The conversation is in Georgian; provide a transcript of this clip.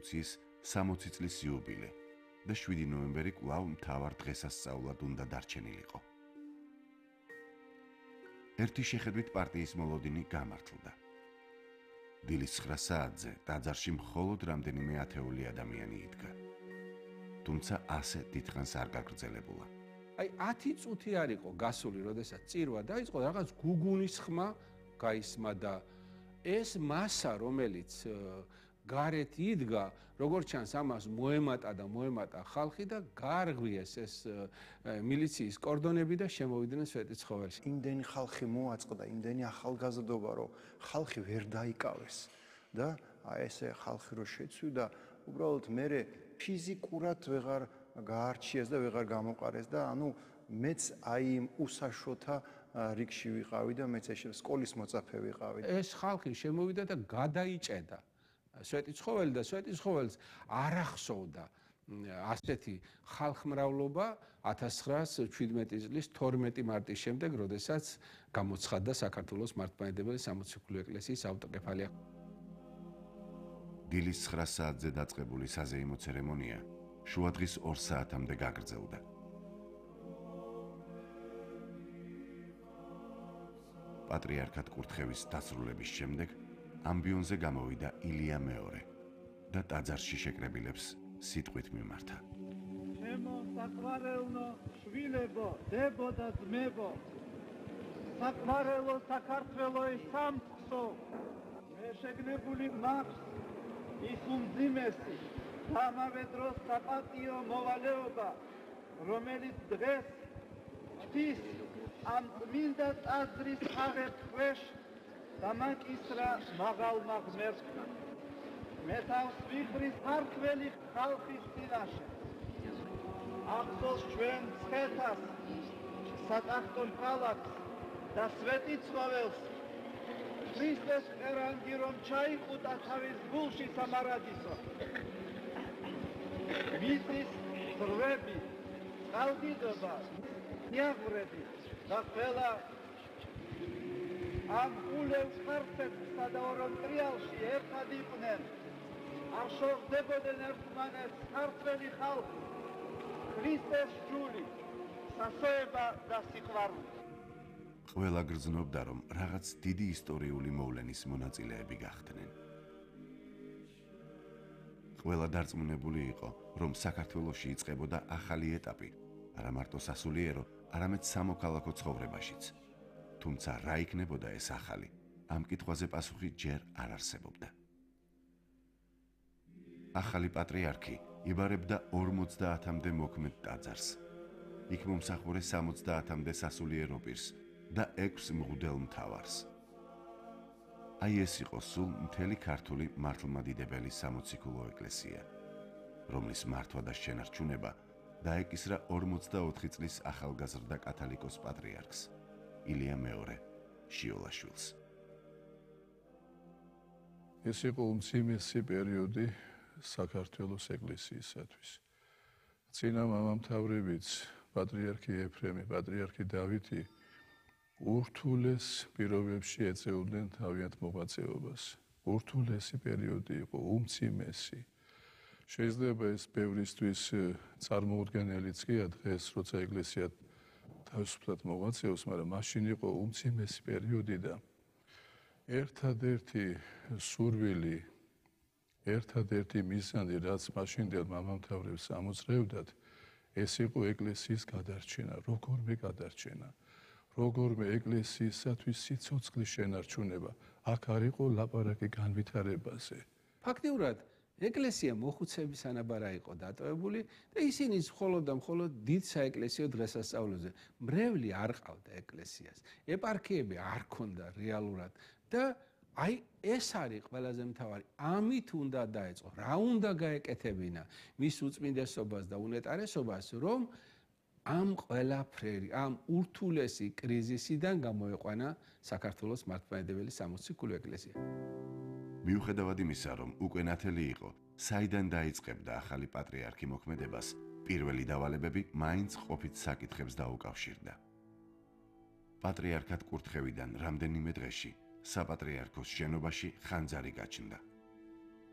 რევოლუციის 60 წლის იუბილე და 7 ნოემბერი კვლავ მთავარ დღესასწაულად უნდა დარჩენილიყო. ერთი შეხედვით პარტიის მოლოდინი გამართლდა. დილის 9 საათზე ტაძარში მხოლოდ რამდენიმე ათეული ადამიანი იდგა. თუმცა ასე დიდხანს არ გაგრძელებულა. აი 10 წუთი არ იყო გასული, როდესაც წირვა დაიწყო, რაღაც გუგუნის ხმა გაისმა და ეს მასა, რომელიც გარეთ იდგა, როგორც ჩანს, ამას მოემატა ხალხი და გაარღვიეს ეს მილიციის კორდონები და შემოვიდნენ სვეტიცხოველში. იმდენი ხალხი მოაწყდა, იმდენი ახალგაზრდობა, რომ ხალხი ვერ დაიკავეს და აი ესე ხალხი რო შეცვიდა, უბრალოდ მე ფიზიკურად ვეღარ გაარჩიეს და ვეღარ გამოყარეს და ანუ მეც აი იმ უსაშოთა რიგში ვიყავი და მეც ეს სკოლის მოწაფე ვიყავი. ეს ხალხი შემოვიდა და გადაიჭედა სვეტიცხოველი და სვეტიცხოველს არ ახსოვდა ასეთი ხალხმრავლობა 1917 წლის 12 მარტის შემდეგ, როდესაც გამოცხადდა საქართველოს მართლმადიდებელი სამოციქულო ეკლესიის ავტოკეფალია. დილის 9 საათზე დაწყებული საზეიმო ცერემონია შუადღის 2 საათამდე გაგრძელდა. პატრიარქად კურთხევის დასრულების შემდეგ ამბიონზე გამოვიდა ილია მეორე და ტაძარში შეკრებილებს სიტყვით მიმართა. ჩემო საყვარელო შვილებო, დებო და ძმებო, საყვარელო საქართველოს სამწყსო, მე შეგნებული მაქვს ის უმძიმესი და ამავე დროს საპატიო მოვალეობა, რომელიც დღეს ღვთის ამ წმინდა ტაძრის აღებ ქვეშ დამაკისრა მაღალმა ღმერთმა. მე თავს ვიხრის ქართველი ხალხის წინაშე. ახსოვს ჩვენ მცხეთას, სატახტო ქალაქს და სვეტიცხოველს. ქრისტეს ყერანგი რომ ჩაიყუტა თავის გულში სამარადისო. მისის ძრვები, წყალდიდობა, ნიაღვრები და ყველა ამ ულევს ხარცეთსა და ორონტრიალში ერთად იყვნენ. არ შორდებოდნენ ერთმანეთს ქართველი ხალხი, ქრისტეს ჯული, სასოება და სიყვარული. ყველა გრძნობდა, რომ რაღაც დიდი ისტორიული მოვლენის მონაწილეები გახდნენ. ყველა დარწმუნებული იყო, რომ საქართველოში იწყებოდა ახალი ეტაპი, არა მარტო სასულიერო, არამედ სამოქალაქო ცხოვრებაშიც. თუმცა რა იქნებოდა ეს ახალი? ამ კითხვაზე პასუხი ჯერ არ არსებობდა. ახალი პატრიარქი იბარებდა 50-მდე მოქმედ ტაძარს. იქ მომსახურე 70-მდე სასულიერო პირს და 6 მღვდელ მთავარს. აი ეს იყო სულ მთელი ქართული მართლმადიდებელი სამოციქულო ეკლესია, რომლის მართვა და შენარჩუნება დაეკისრა 44 წლის ახალგაზრდა კათალიკოს პატრიარქს ილია მეორე შიოლაშვილს. ეს იყო უმციმესი პერიოდი საქართველოს ეკლესიისათვის. წინა მამამთავრებიც, პატრიარქი ეფრემი, პატრიარქი დავითი ურთულეს პირობებში ეწეოდნენ თავიანთ მოღვაწეობას. ურთულესი პერიოდი იყო, უმციმესი. შეიძლება ეს ბევრისთვის წარმოუდგენელიც კი დღეს, როცა ეკლესია თავისუფლად მოღვაწეობს, მაგრამ მაშინ იყო უმციმესი პერიოდი და ერთადერთი სურვილი, ერთადერთი მიზანი, რაც მაშინდელ მამამთავრებს ამოძრეოდათ, ეს იყო ეკლესიის გადარჩენა, როგორმე გადარჩენა. როგორმე ეკლესიისათვის სიცოცხლის შენარჩუნება. აქ არ იყო ლაპარაკი განვითარებაზე. ფაქტიურად ეკლესია მოხუცების ანაბარა იყო დატოვებული და ისინი მხოლოდ დიდ საეკლესიო დღესასწაულებზე. მრევლი არ ყავდა ეკლესიას. ეპარქიები არ ქონდა რეალურად და აი ეს არის ყველაზე მთავარი. ამით უნდა დაეწყო, რა უნდა გაეკეთებინა მის უწმინდესობას და უნეტარესობას, რომ ამ ყველაფერი, ამ ურთულესი კრიზისიდან გამოეყვანა საქართველოს მართლმადიდებელი სამოციქულო ეკლესია. მიუხედავად იმისა, რომ უკვე ნათელი იყო, საიდან დაიწყებდა ახალი პატრიარქი მოქმედებას, პირველი დავალებები მაინც ყოფით საკითხებს დაუკავშირდა. პატრიარქად კურთხევიდან რამდენიმე დღეში საპატრიარქოს შენობაში ხანძარი გაჩნდა.